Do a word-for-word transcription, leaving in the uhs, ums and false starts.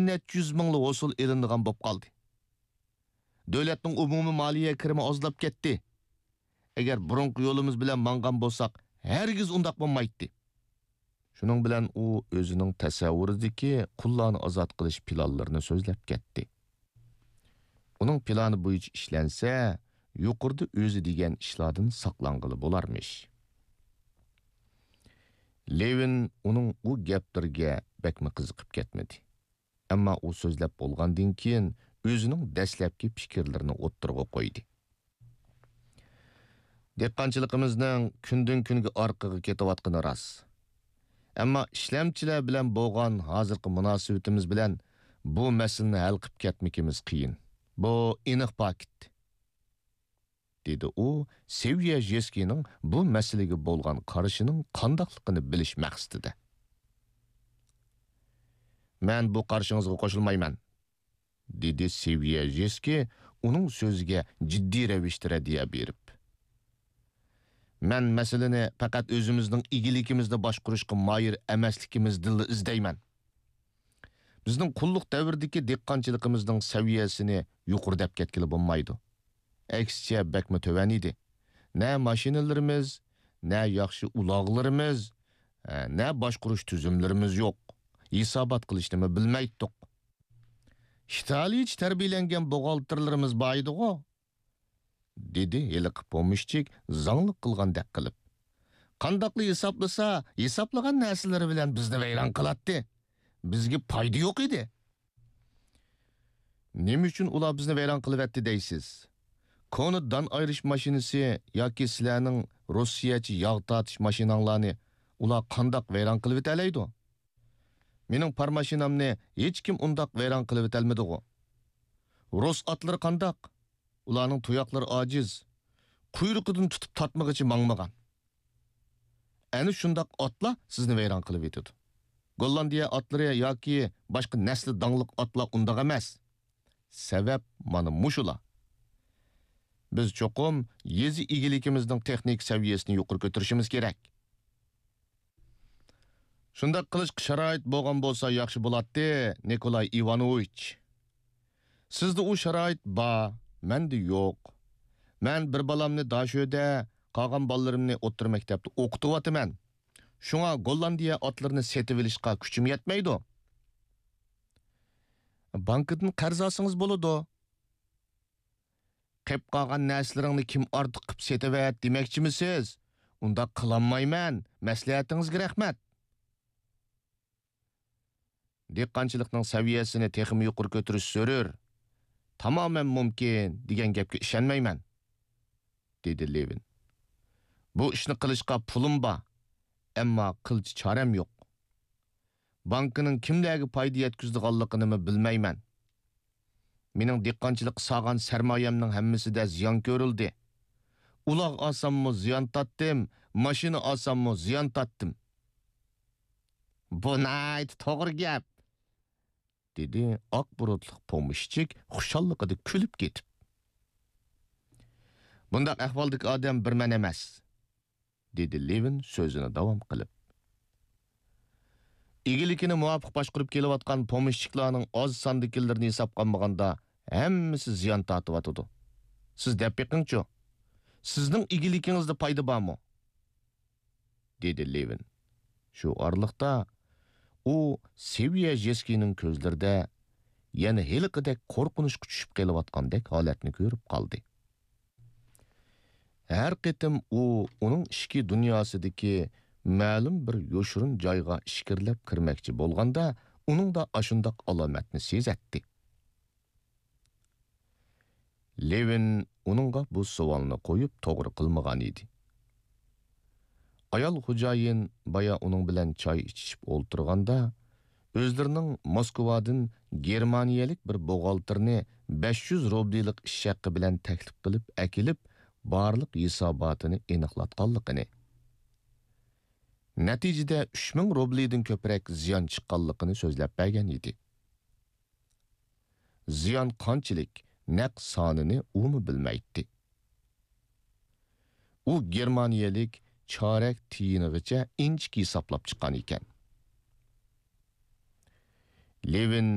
نەچچە يۈز مىڭلا ھوسۇل ئېلىنىدىغان بولۇپ قالدى. دۆلەتنىڭ ئومۇمىي مالىيە كىرىمى ئازلاپ كەتتى. ئەگەر بۇرۇنقى يولىمىز بىلەن ماڭغان بولساق، ھەرگىز ئۇنداق بولمايتتى. شۇنىڭ بىلەن ئۇ ئۆزىنىڭ تەسەۋۋۇرىدىكى قۇللارنى ئازاد قىلىش پىلانلىرىنى سۆزلەپ كەتتى. ئۇنىڭ پىلانى بويىچە ئىشلەنسە، يۇقىرىدا ئۆزى دېگەن ئىشلاردىن ساقلانغىلى بولارمىش. لېۋىن ئۇنىڭ ئۇ گەپلىرىگە بەكمۇ قىزىقىپ كەتمىدى. ئەمما ئۇ سۆزلەپ بولغاندىن كېيىن، ئۆزىنىڭ دەسلەپكى پىكىرلىرىنى ئوتتۇرىغا قويدى. دېھقانچىلىقىمىزنىڭ كۈندىن-كۈنگە ئارقىغا كېتىۋاتقىنى راست. ئەمما ئىشلەمچىلەر بىلەن بولغان ھازىرقى مۇناسىۋىتىمىز بىلەن بۇ مەسىلىنى ھەل قىلىپ كەتمىكىمىز قىيىن. بۇ ئېنىق پاكىت. دېدى ئۇ، سېۋيەژېسكىنىڭ بۇ مەسىلىگە بولغان قارىشىنىڭ قانداقلىقىنى بىلىش مەقسىتىدە. مەن بۇ قارىشىڭىزغا قوشۇلمايمەن، دېدى سېۋيەژېسكى ئۇنىڭ سۆزىگە جىددىي رەۋىشتە رەددىيە بېرىپ. مەن مەسىلىنى پەقەت ئۆزىمىزنىڭ ئىگىلىكىمىزنى باشقۇرۇشقا ماھىر ئەمەسلىكىمىزدىنلا ئىزدەيمەن. بىزنىڭ قۇللۇق دەۋرىدىكى دېھقانچىلىقىمىزنىڭ سەۋىيەسىنى يۇقىرى دەپ كەتكىلى بولمايدۇ. ئەكسىچە، بەكمۇ تۆۋەن ئىدى. نە ماشىنىلىرىمىز، نە ياخشى ئۇلاغلىرىمىز، ئە، نە باشقۇرۇش تۈزۈملىرىمىز يوق. ھېسابات قىلىشنىمۇ بىلمەيتتۇق. ئىتالىيچە تەربىيەلەنگەن بوغالتىرلىرىمىز بار ئىدىغۇ؟ دېدى ھېلىقى پومېشچىك زاڭلىق قىلغاندەك قىلىپ. قانداقلا ھېسابلىسا، ھېسابلىغان نەرسىلىرى بىلەن بىزنى ۋەيران قىلاتتى. بىزگە پايدا يوق ئىدى. نېمە ئۈچۈن ئۇلار بىزنى ۋەيران قىلىۋەتتى دەيسىز؟ كونا دان ئايرىش ماشىنىسى ياكى سىلەرنىڭ روسىيەچە ياغ تارتىش ماشىناڭلارنى ئۇلار قانداق ۋەيران قىلىۋېتەلەيدۇ؟ مېنىڭ پار ماشىنامنى ھېچكىم ئۇنداق ۋەيران قىلىۋېتەلمىدىغۇ؟ رۇس ئاتلىرى قانداق؟ ئۇلارنىڭ تۇياقلىرى ئاجىز، قۇيرۇقىدىن تۇتۇپ تارتمىغىچە ماڭمىغان. ئەنە شۇنداق ئاتلار سىزنى ۋەيران قىلىۋېتىدۇ. گوللاندىيە ئاتلىرى ياكى باشقا نەسلى داڭلىق ئاتلار ئۇنداق ئەمەس. سەۋەب مانا مۇشۇلار. بىز چوقۇم يېزا ئىگىلىكىمىزنىڭ تېخنىكا سەۋىيەسىنى يۇقىرى كۆتۈرۈشىمىز كېرەك. شۇنداق قىلىشقا شارائىت بولغان بولسا ياخشى بولاتتى، نىكولاي ئىۋانوۋىچ. سىزدە ئۇ شارائىت بار، مەندە يوق. مەن بىر بالامنى داشۆدە، قالغان بالىلىرىمنى ئوتتۇرا مەكتەپتە ئوقۇتۇۋاتىمەن. شۇڭا گوللاندىيە ئاتلىرىنى سېتىۋېلىشقا كۈچۈم يەتمەيدۇ. بانكىدىن قەرز ئالسىڭىز بولىدۇ. قېپ قالغان نەرسىلىرىڭنى كىم ئارتۇق قىپ سېتىۋەت دېمەكچىمىسىز؟ ئۇنداق قىلالمايمەن، مەسلىھەتىڭىزگە رەھمەت. دېھقانچىلىقنىڭ سەۋىيەسىنى تېخىمۇ يۇقىرى كۆتۈرۈش زۆرۈر. تامامەن مۇمكىن دېگەن گەپكە ئىشەنمەيمەن، دېدى لېۋىن. بۇ ئىشنى قىلىشقا پۇلۇم بار، ئەمما قىلچە چارەم يوق. بانكىنىڭ كىملەرگە پايدا يەتكۈزىدىغانلىقىنىمۇ بىلمەيمەن. مېنىڭ دېھقانچىلىققا سالغان سەرمايەمنىڭ ھەممىسىدە زىيان كۆرۈلدى. ئۇلاغ ئالساممۇ زىيان تارتتىم، ماشىنا ئالساممۇ زىيان تارتتىم. بۇ ناھايىتى توغرا گەپ، دېدى ئاق بۇرۇتلۇق پومېشچىك خۇشاللىقىدا كۈلۈپ كېتىپ. بۇنداق ئەھۋالدىكى ئادەم بىر مەن ئەمەس. دېدى لېۋىن سۆزىنى داۋام قىلىپ. ئىگىلىكىنى مۇۋاپىق باشقۇرۇپ كېلىۋاتقان پومېشچىكلارنىڭ ئاز ساندىكىلىرىنى ھېسابقا ئالمىغاندا، ھەممىسى زىيان تارتىۋاتىدۇ. سىز دەپ بېقىڭچۇ، سىزنىڭ ئىگىلىكىڭىزدە پايدا بارمۇ؟ دېدى لېۋىن. شۇ ئارىلىقتا ئۇ سېۋيەژېسكىينىڭ كۆزلىرىدە يەنە ھېلىقىدەك قورقۇنچقا چۈشۈپ قېلىۋاتقاندەك ھالەتنى كۆرۈپ قالدى. ھەر قېتىم ئۇ ئۇنىڭ ئىچكى دۇنياسىدىكى مەلۇم بىر يوشۇرۇن جايغا ئىچكىرىلەپ كىرمەكچى بولغاندا، ئۇنىڭدا ئاشۇنداق ئالامەتنى سېزەتتى. لېۋىن ئۇنىڭغا بۇ سوئالنى قويۇپ توغرا قىلمىغان ئىدى. ئايال خوجايىن بايا ئۇنىڭ بىلەن چاي ئىچىشىپ ئولتۇرغاندا، ئۆزلىرىنىڭ موسكۋادىن گېرمانىيەلىك بىر بوغالتىرنى بەش يۈز روبلىلىق ئىش ھەققى بىلەن تەكلىپ قىلىپ ئەكېلىپ، بارلىق ھېساباتىنى ئېنىقلاتقانلىقىنى، نەتىجىدە ئۈچ مىڭ روبلىدىن كۆپرەك زىيان چىققانلىقىنى سۆزلەپ بەرگەن ئىدى. زىيان قانچىلىك، نەق سانىنى ئۇمۇ بىلمەيتتى. ئۇ گېرمانىيەلىك چارەك تىيىنىغىچە ئىنچىكە ھېسابلاپ چىققان ئىكەن. لېۋىن